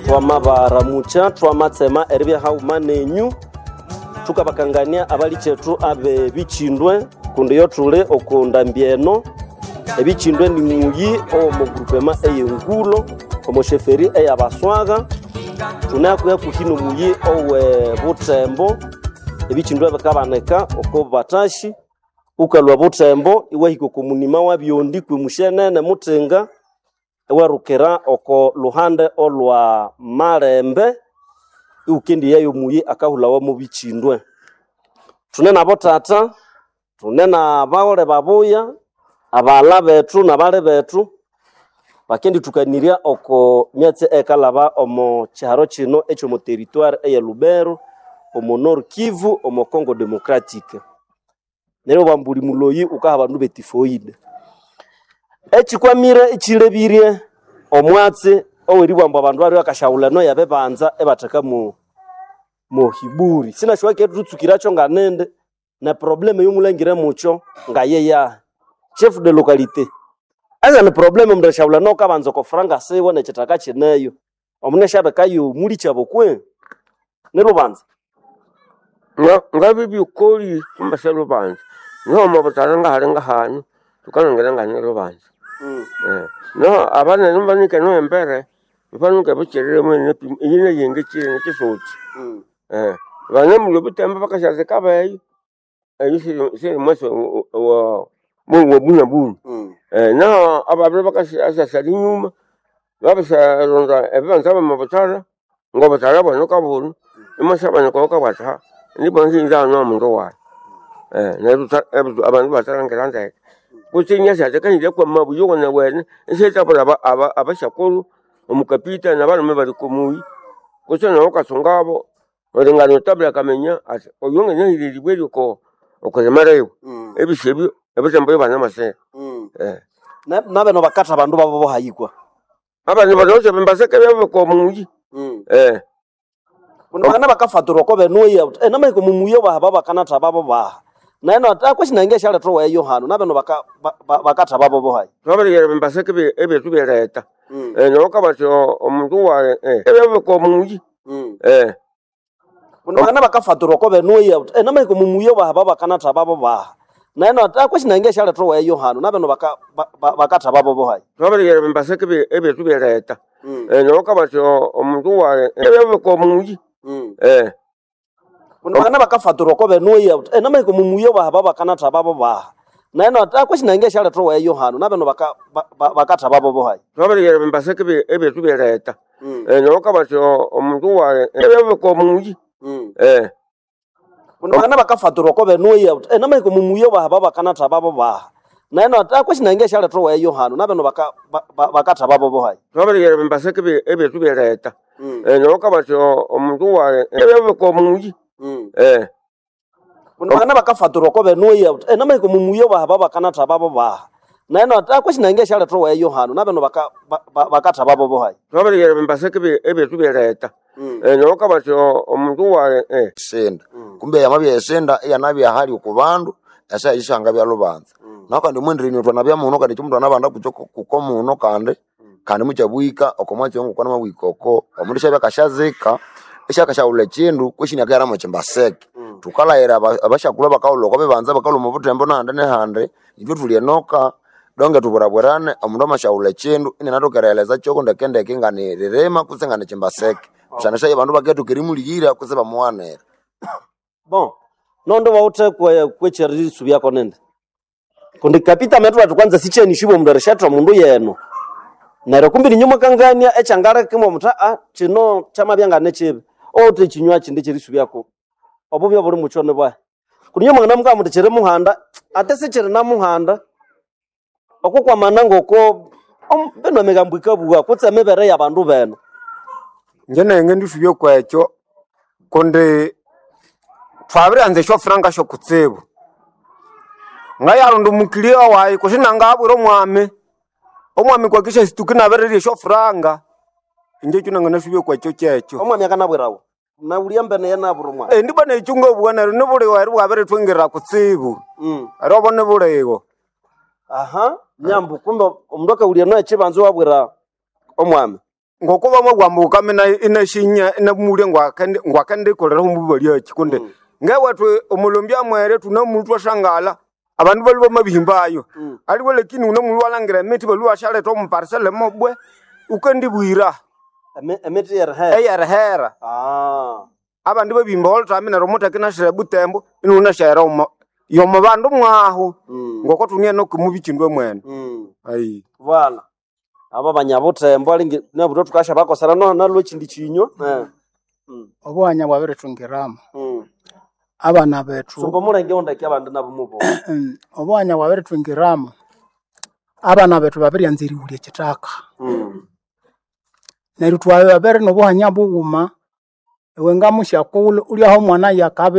Twamabaramukya, twamatsema eribya haghuma nenyu. Thukabakangania abalikyetu abe bichindwe kundi yo thuli oko ndambi eno. Ebichindwe ni muyi owomo groupema eyengulo omo sheferi eyabaswaga. Thune hakuhi hakuhi nomuyi owe Butembo. Ebichindwe bikabanika oko batashi. Ukalhwa Butembo iwahika oko munima wa Byondi kwi mushenene Mutinga, iwerukira oko luhande olwa Malembe, iwukendiyayo omuyi akahulhawa mo bichindwe. Thune nabo tata, thune nabaghole babuya, abaghalha bethu nabali bethu bakendithukanirya oko myatsi eyikalhaba omo kyiharo kino ekyomo territoire eye Lubero, omo Nord Kivu, omo Congo Democratic. Neryo bambu buli muloyi wukaha abandu betifoide. Ekikwamire ekyilebirye omwatsi oweribugha ambu abandu balwe bakasyaghulha eno yabibanza ibatheka mo hiburi. Sinasyowa kethutsukiracho nganindi ne probleme eyomulhangire mukyo ngayeyahi. Chef de localité, eza ni probleme omundu erisyaghulha eno wukabanza oko franga siwe nekyithaka kyineyo. Omundu asyabikayo mulikyabo kwe? Nilubanza? Ngabibikoli kumbese lubanza noho obutara ngahali ngahano thukalhangira ngane lubanza. Noho abanene mubanika noho embere banuka bukyerere eyinayenge kyire nekyisotsi. Banamulhwa obutembo bakasyazika beyo eyo siri mwasi wabunabuna. Naho ababiri bakasyasyasalha enyuma babisyaronda ebibanza byomwa buthara ngobuthara bwenu kabunu imwasyabanika oyukabugha athi nibwa nginza hano omundu wayi. Neryo abandu ibathalhangira ndeke kutse inyasyatha akahindya kwamabu yowenewene isyathabwira abasyakulhu omukapita nabalhume bali okomuyi kutse nawu wukatsungabo erilingana wuthi akaminya athi oyu nganahira eribwe ryoko okwirima liwe. Ebisi ebyo ebitembo ibanamasira. Nabeno bakatha abandu babo bohayikwa. Abandi banawithe ebimbaseke byabo okomuyi. Kundi bakana bakafatirwa oko benuya wuthi namahika omo muyi obaha babakanatha babo baha. Neno ati kwesi nange esyaletha oweyo hano nabeno bakatha babo bohayi. Thwabirighera ebimbaseke ebyethu byeretha. Neryo wukabugha wuthi omundu wayi ebyabo okomuyi. Kundi bakana bakafatirwa oko benuya wuthi namahika omo muyi obaha babakanatha babo baha. Neno ati kwesi nange esyaletha oweyo hano nabeno bakatha babo bohayi. Thwabirighera ebimbaseke ebyethu byeretha. Neryo wukabugha wuthi omundu wayi ebyabo okomuyi. Kundi bakana bakafatirwa oko benuya wuthi namahika omo muyi obaha babakanatha babo baha. Neno ati kwesi nange esyaletha oweyo hano nabeno bakatha babo bohayi. Thwabirighera ebimbaseke ebyethu byeretha. Neryo wukabugha wuthi omundu wayi ebyabo okomuyi. Kundi bakana bakafatirwa oko benuya wuthi namahika omo muyi obaha babakanatha babo baha. Neno ati kwesi nange esyaletha oweyo hano nabeno bakatha babo bohayi. Thwabirighera ebimbaseke ebyethu byeretha. Neryo wukabugha wuthi omundu wayi ebyabo okomuyi. Kundi bakana bakafatirwa oko benuya wuthi namahika omo muyi obaha babakanatha babo baha. Neno ati kwesi nange esyaletha oweyo hano nabeno bakatha babo bohayi. Thwabirighera ebimbaseke ebyethu byeretha. Neryo wukabugha wuthi omundu wayi Senda. Kumbe yamabya esenda iyanabya hali oku bandu esaha eyo lubanza. Naho kandi omwendirenyo thwanabya muno kandi ekyo mundu anabanda kutse kuko muno kandi kandi mukyabwika oko mwatsi ngoko namabwika oko omundu isyabya akasyazika isyakasyaghulha ekyindu kwesi inakahera mwekimbaseke. Thukalhaghira abasyakulhu abakaghulha oko bibanza abakalhwa omo buthembo nahandi nehandi ithwe thuli enoka donge thubwirabwirane omundu amasyaghulha ekyindu inianathoka erighelezakyoko ndekendeke nganiririma kutse nganikimbaseke. Busana esyayo abandu bakethoka erimulighira kutse ibamughanira. Bon, nondo wawuthe kwekyerisubyako nindi. Kundi kapita amathuwa athi kwanza sikyenishibwa omundu erisyathwa omundu yeno. Neryo kumbi ninyo mwakangania ekyangaleka imwamuthi kino kyamabya nganikibi. Owuthe ekinywa kindi ekyerisubyako obubya obuli mukyo nibwahi. Kundi inyo mwanganamubwira muthi kiri muhanda, ate sikiri namuhanda. Oko kwamana ngoko bino emigambo yikabugha kutse emibere yabandu benu. Inje nayi ngendisubya okwekyo kundi thwabirianza esyofuranga syokutsibu. Ngayaronda omukiliya wayi kutse nangabwira omwami, omwami kwakisya situka inabirirya esyofuranga. Inje ekyo nanganasubya okwekyo kyekyo. Omwami akanabwirawa? Naghulya mbene yenabwira omwami. Indi bwana ekyo ngabugha neryo nibuligho eri bwabirithwingirira kutsibu. Eri obo nibuligho. Aha, nyambu kumbe omundu akawulya eno ekibanza iwabwira omwami. Ngoko bamabugha ukame inashinya inamulya ngwakendikolera omububalyaki kundi ngewethu omulombi amwere tunamulwa twashangala abandu balwa bamabihimbayo. Aliwe lakini unamulwa walangira emiti balwa bashaleta omu parcel mobwe ukandibwira Emiti yerihera. Eyerihera. Ah. Abandi babihimba olutami neryo omutheke inashira ebutembo inunashera omo yomo bandu mwahu ngoko tuniene okumubichindwe mwene. Ayi. Bwana. Aba banyabutembo alingi nabuto tukasha bakosana no nalwe chindi chinyo. Eh. Obuhanya bwabirithungiramo abana bethu. Sumba mulenge ondeke abandu nabo mubo. Obuhanya bwabirithungiramo abana bethu babiryanza erighulya ekithaka. Neryo twababere nobuhanya bughuma iwe ngamusyakulhu ulyaho omwana yakabi.